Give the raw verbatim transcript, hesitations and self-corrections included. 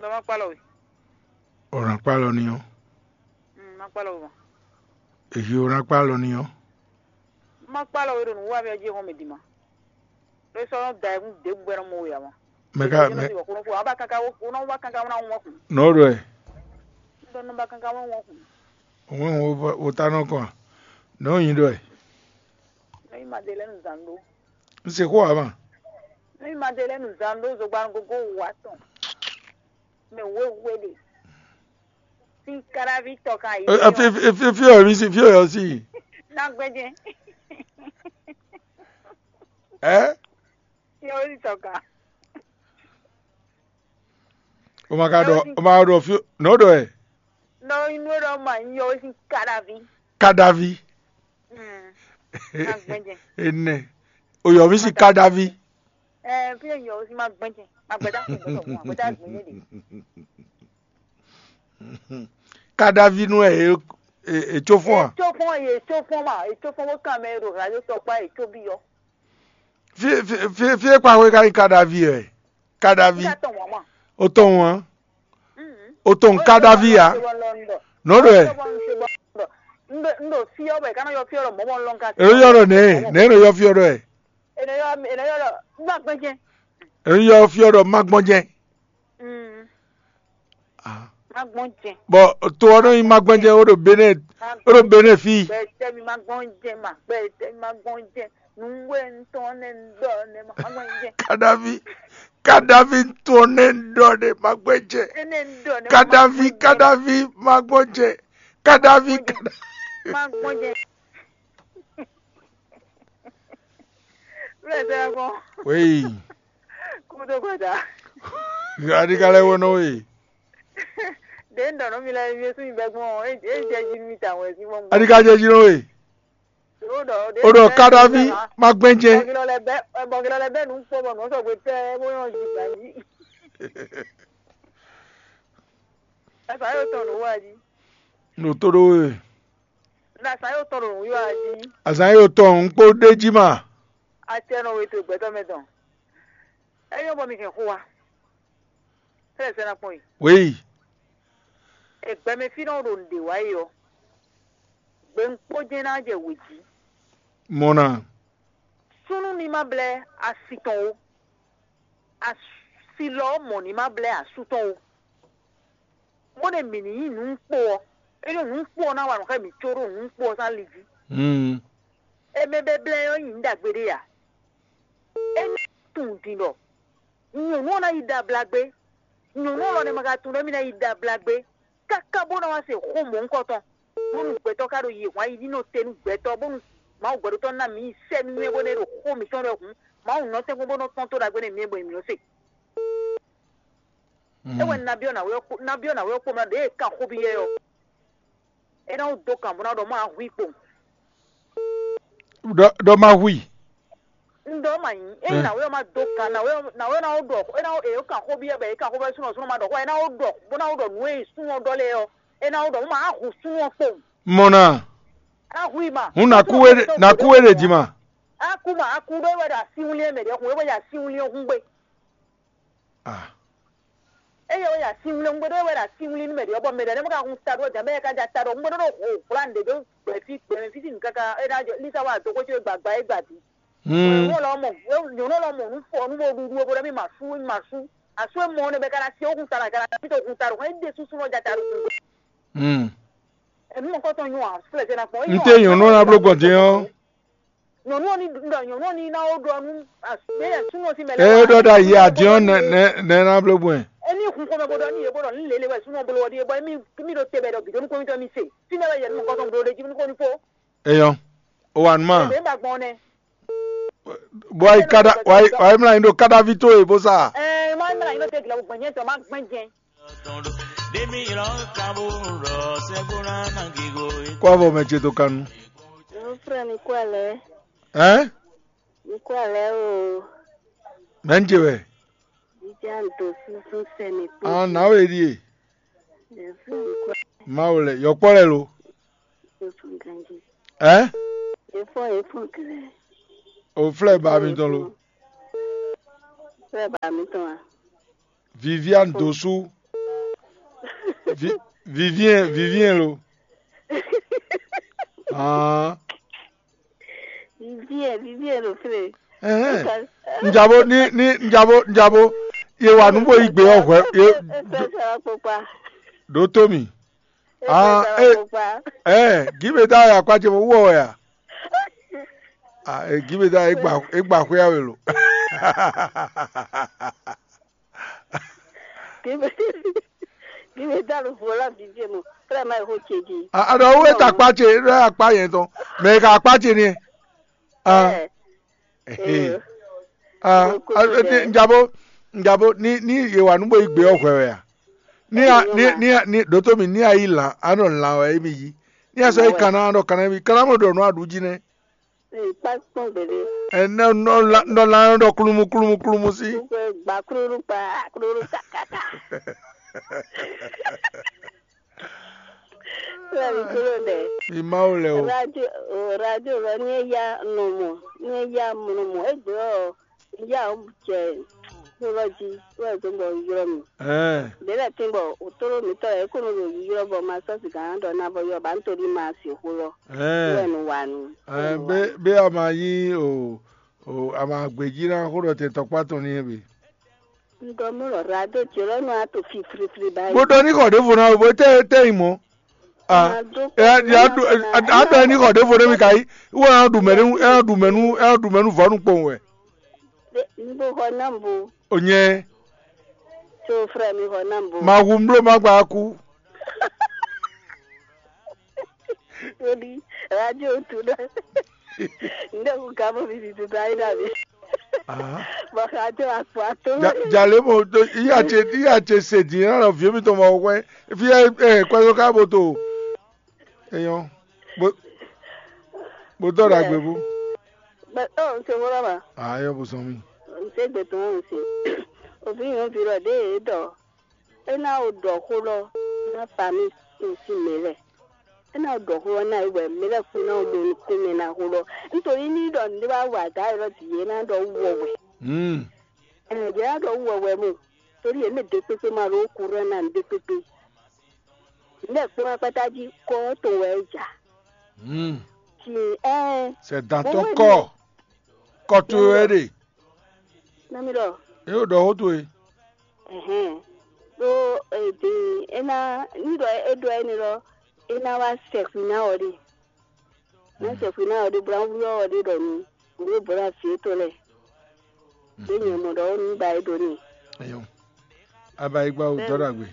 Má kpá lɔ we. O ná kpá lɔ ní ɔ́. Mm, má kpá lɔ we ma. Èyí o ná kpá lɔ ní ɔ́. Má kpá lɔ we ɖo nǔ wa mɛ jí hɔn mɛ dì ma. Lɔ sɔ nɔ da ɛkún dě gbɛ nɔ mɔ we ama. Mɛ ka mɛ. Ko nɔ ba kankan wo, ko nɔ ba kankan wo na wɔn kun. Nɔ ɖɔ ɛ. Dɔ nɔ ba kankan wo wɔn kun. Òun wo wo ta nɔ kɔn. Nɔ yin ɖɔ ɛ. Nɔ yi ma de lɛ nu zan ɖo. N se xó ama. Nɔ yi ma de lɛ nu zan ɖo zogban gogo wa tɔn. Mɛ wéwé ɖe. Sín káráví tɔ kan yí. Ɛ, ɛ, fi fi fi fi ɔ mi si fi ɔ yɔ si. Ná gbɛjɛ. Ɛ. Fi ɔ yí tɔ kan. O ma ka ɖɔ o ma ɖɔ fi nɔ ɖɔ ɛ. Nɔ inú ɖɔ ma nyí ɔ sín káráví. Kadavi. Mm. Ná gbɛjɛ. Ene. O yɔ mi si kadavi. Ɛ fi ɔ yɔ sín ma gbɛjɛ. Ma gbɛdá kún gbɔdọ̀ kún ma gbɛdá gbɛjɛ de. Kadavi nú ɛ etsó fún a? Etsó fún ɛ etsó fún ma etsó fún bó kàn mɛ ɖo radio tɔkpa etsó bi yɔ. Fi fi fi fi e kpa xwe ka nyí kadavi ɛ? Kadavi. Nígbà tó wọ́n mọ̀. O tɔn wọn. O tɔn kadavi ya. Nɔ ɖɔ ɛ. N ɖo fi ɔ́ bɔ è ka nɔ yɔ fi ɔ́ ɖɔ mɔ̌ mɔ lɔn ka. Ero yɔ ɖɔ nɛ nɛ ero yɔ fi ɔ́ ɖɔ ɛ. È nɔ yɔ è nɔ yɔ ɖɔ má gbɛn jɛn. Ero yɔ fi ɔ́ ɖɔ má gbɔn jɛn. Mm. Ah. Má gbɔn jɛn. Bɔ to ɔ́ nɔ nyí má gbɔn jɛn ó ɖo Benɛ ó ɖo Benɛ fí. Gbɛtɛ mi má gbɔn jɛn ma gbɛtɛ mi má gbɔn jɛn. Nǔwe ŋutɔn nɛ ń ɖɔ nɛ má gbɔn jɛn. Kadavi kadavi ŋutɔn nɛ ń ɖɔ nɛ má gbɔn jɛn. Kadavi kadavi má gbɔn jɛn. Kadavi kadavi. Má gbɔn jɛn. Lẹ́sẹ̀ ẹ̀gbọ́n. Wéyì. Kúndó gbàdá. Adikalẹ̀ wo nɔ wéyì. Ɖě ń ɖɔ nɔ mi lɛ mi sún mi bɛ gbɔn ɔ, é jɛ jí mi ta wɛ sí mɔ. Adika jɛ jí nɔ wéyì. O ɖɔ o ɖɔ kadavi ma gbɛn jɛ. Bɔgilɔ lɛ bɛ bɔgilɔ lɛ bɛ nu kpɔ bɔ nɔ sɔgbe tɛ bó yɔn jí gbà jí. Ɛfɛ ayɔ tɔn nɔ wá jí. Nɔ tó ɖó wéyì. Ɖo azǎn e tɔn ɖo nǔwiwa ɔ́ jí. Azǎn e tɔn un kpó ɖ'é jí ma. Acɛ nɔ we to gbɛtɔ́ mɛ tɔn. É nyɔ́ bɔ mi hɛn xó wa. Fɛ́ sɛ́ ná kpɔ́n yi. Wěyi. È gbɛmɛ fí nɔ ɖo nǔɖé wa yi ɔ́. Gbe un kpó jɛ́n ná jɛ wě jí. Mɔ na. Súnnu ní má blɛ́ asi tɔn ó. Asi lɔ ɔ́ mɔ̌ ní má blɛ́ asú tɔn ó. Bó ɖe mǐ ní nyí nǔ kpo ɔ́, é ɖo nǔ kpo ɔ́ ná wa nǔ xá mǐ có ɖo nǔ kpo ɔ́ sín ali jí. Mm. Émɛ bɛ́blɛ́ ɔ́ nyi nǔ ɖagbe ɖé ǎ. É ní tunwun din ɖɔ nyɔ̌nu ɔ́ ná yi ɖo abla gbé. Nyɔ̌nu ɔ́ lɔ nɛ́ ma ka tunwun ɖɔ émí ná yi ɖo abla gbé káká bó ná wá se xó mɔ̌hunkɔtɔn. Bónú gbɛtɔ́ ka ɖo yi hwan yi ɖi nɔ te nú gbɛtɔ́, bónú Mawu gbɛɖótɔ́ ná mǐ yi sɛ́ nú ɛ bó ná ɖo xó mǐtɔn ɖɔ hǔn, Mawu nɔ tɛ́nkpɔ́n bó nɔ tɔ́n tó ɖagbe nú mǐ bɔ mǐ nɔ se. É wɛ un ná byɔ́ nǎwe ɔ́ kpó ná byɔ́ nǎwe ɔ́ kpó mɛ ɖěe é kan xó byɔ́ ɛ ɔ́. É ná wú dó kan bó ná ɖɔ má hu i kpowun. Ɖɔ ɖɔ má hu i. Un ɖɔ má nyí ényí nǎwe ɔ́ má dó kan nǎwe ɔ́ nǎwe ɔ́ ná wú ɖɔ é ná wú è kan xó byɔ́ bɔ è kan xó byɔ́ súnɔ súnɔ má ɖɔ xó ɛ é ná wú ɖɔ bó ná wú ɖɔ nǔ e súnɔ ɖɔ lɛ́ɛ ɔ́ é ná wú ɖɔ má hu súnɔ kpowun. Mɔ na. Á hu i ma. Hún nǎ kú wé nǎ kú wé ɖě jí ma. Á kú ma á kú ɖó é wɛ ɖo asínwlí e mɛ ɖě hun é wɛ ɖo asínwlí ɔ́ hún gbe. Ah. Eye wɛ ya sinwlin ŋgbɛdɔ wɛ la sinwlin mɛ ɖe bɔ mɛ ɖe ne ka hun ta ɖo jɛ mɛ ka ja ta ɖo ŋgbɛdɔ ɖo ho hwlan ɖe ɖo gbɛ fi gbɛ fi sin kaka e na jɔ lisa wa do ko ce gbagba e gba di. Hmm. Nyɔnu lɔ mɔ nyɔnu lɔ mɔ nu fɔ nu bo ɖuɖu bo ɖe mi ma su ma su asu e mɔ ne bɛ ka na se o kun ta la ka na fi to kun ta ɖo e de susu lɔ ja ta ɖo kun. Hmm. Enu mɔ kɔtɔ nyɔ a flɛ se na kpɔ. N te nyɔnu na blo gbɔn din ɔ. Nyɔnu ɔ́ ní ɖɔ nyɔnu ɔ́ ní ná ó ɖɔ nú gbé yɛ súnú ɔ́ sín mɛ lɛ́ɛ. Ée ɖɔ ɖ'ayǐ adin ɔ́ nɛ́ nɛ́ nɛ́ ná bló gbɔn ɛ. Émí hun xomɛ bó ɖɔ ní yě bó ɖɔ ní lě lě wɛ súnú ɔ́ bló ɔ́ ɖíe bɔ émí mí ɖo te bɔ è ɖɔ bǐ dó nú kɔ́mítɔ́ mì se. Fínɛ́ wɛ yɛ nú nukɔn tɔn bló ɖ'é jí nú kó ní fó. Eyɔn, o wa nú ma. Ebe ma gbɔn nɛ. Bɔ ayi kada wa yi wa yi mla nyi ɖo kadaví tó e bó sa. Ɛɛ ma mla nyi ɖo te gilɛ gbɔn nyɛ tɔ ma gbɛn jɛn. Kó avɔ mɛ ce tó kanu. Frère, mi kú alɛ. Hein? Mi kú alɛ o. Mɛ ń ce wɛ. Jíjá ń do súnsún sẹ́ni pé. Ah, náwó èdí e. Ẹ fún mi kú alɛ. Máwo lɛ, yɔkpɔ lɛ lo. Tó fún ganjí. Hein? Ẹ fún ẹ fún kẹlẹ. O flɛ ba mi tɔn lo. Frère ba mi tɔn a. Viviane Dosu. Vi- Vivien, Vivien lo. Ah. Vivien, Vivien lo fle. Ɛhɛn. Njabo ni ni njabo njabo. Ye wa nu bo yi gbe ɔ hwɛ ye. Efɛsɛ ɔkpɔkpa. Ɖo to mi. Ah, Efɛsɛ eh, ɔkpɔkpa. Eh, give me that akpa ce mo wɔ ya. Ah, eh, give me that egba egba hwe awe lo. Give me give me that vola Vivien mo. Frère ma ho cheji. Ah, alors où est ta akpa ce? Là akpa yẹn ton. Mais ka akpa ce ni. Ah. Eh. Eh. Ah, Kókó ah, ti eh, lɛ́ɛ. Njabo, njabo, ni ni ye wa nu bo yi gbe ɔ hwɛ wɛ a? Ni a Eyi ni ma. Ni a ni ɖǒtó mi ni a yi lan, a nɔ lan wɛ émi yi. Ni a sɔ yi Wɛ. Kanna, a nɔ kanna émi, kanna mo ɖɔ nú a ɖu jí nɛ. Ee, kpá kpɔ́n gběɖé. Ɛ nɔ nɔ la nɔ lan nɔ ɖɔ klúmú klúmú klúmú sí. Wípé gba klúlú kpa klúlú kakaka. Wíwá mi kúrò lɛ. Mi Mawu lɛ o. Radio, o radio lɔ ní é yá nɔ mɔ, ní é yá nɔ mɔ, égbé ɔ, yá ɔ jɛ kúlɔ jí, wɛ gbé bɔ ylɔ́ mi. Ɛɛ. Bělɛ tín bɔ òtóló mǐtɔn lɛ́ɛ kó nɔ ɖo ylɔ́ bɔ ma sɔ́ sǐgá ná ɖɔ ná bɔ ylɔ́ ba ń toɖí ma sixú lɔ. Ɛɛ. Wɛ nu wa nu. Ɛɛ, bé bé a ma nyí o o a ma gbějí ná xó ɖɔ tɛn tɔkpá tɔn ní é be. Un ɖɔ mɔ ɖɔ radio ce lɔ nɔ ato fi flifli ba yi. Bó ɖɔ ní xɔ ɖěvo ná bó tɛ tɛ yi mɔ. Ah, Ná dó ɛ ya ɖu a ɖɔ ní xɔ ɖěvo ɖé mi ka yi. Wɔ ɛ ɖu mɛ nú ɛ ɖu mɛ nú ɛ ɖu mɛ nú vɔ̌ nukpɔn wɛ. Ní bó xɔ ná bo. O nyɛ. So frère mi xɔ ná bo. Ma hu mbló ma gba kú. Torí radio tu ɖe. Ndé hu ka bo vivi tu ta yi ɖa mi. Ah. Bɔ radio akpɔ ato. Ja- Jale mo do iya ce iya ce se din na lɔ vie mi tɔn ma wɛ. Fi ɛ ɛ kwɛso ka bo to. Eyɔn. Bo bo dɔ da gbe bu. Bɛ ɔ n se wúrɔ ma. Ah, eyɔn bo sɔn mi. N se gbe tɔn n se. Òfin yóò fi lɔ dé e dɔ. É ná o ɖɔ xó lɔ ná fa mì kún sín mɛ lɛ́ɛ. É ná o ɖɔ xó lɔ ná yi wɛ mɛ lɛ́ɛ kún ná o ɖo nukún mɛ ná xó lɔ. Nítorí ní ɖɔ nǔɖé wá wa gǎ élɔ́ bǐ é ná ɖɔ wú wɛ wɛ. Hmm. Ɛn yě ná ɖɔ wú wɛ wɛ mo. Torí yě mɛ ɖě kpékpé ma ɖó kúrú ná nǔɖé kpékpé. Nǔɖé kpó wá kpátá jí kɔ tɔn wɛ é ja. Hmm. Ci ɛn. C'est dans ton corps. Kɔ to wɛ ɖe. Nami ɖɔ. E o ɖɔ xó towe. Ɛhɛn. Ɖó èdè é ná ní ɖɔ é ɖɔ énɛ́ lɔ é ná wá sɛkpin ná ɔ ɖe. Ná sɛkpin ná ɔ ɖe bó ná wlú ɔ ɖe ɖɔ nu. Wlú bó ná fi étɔn lɛ. Ɖé nyɛ mɔ ɖɔ ó ní ba é ɖo ní. Eyɔn. Abayigba o dɔ ɖagbe.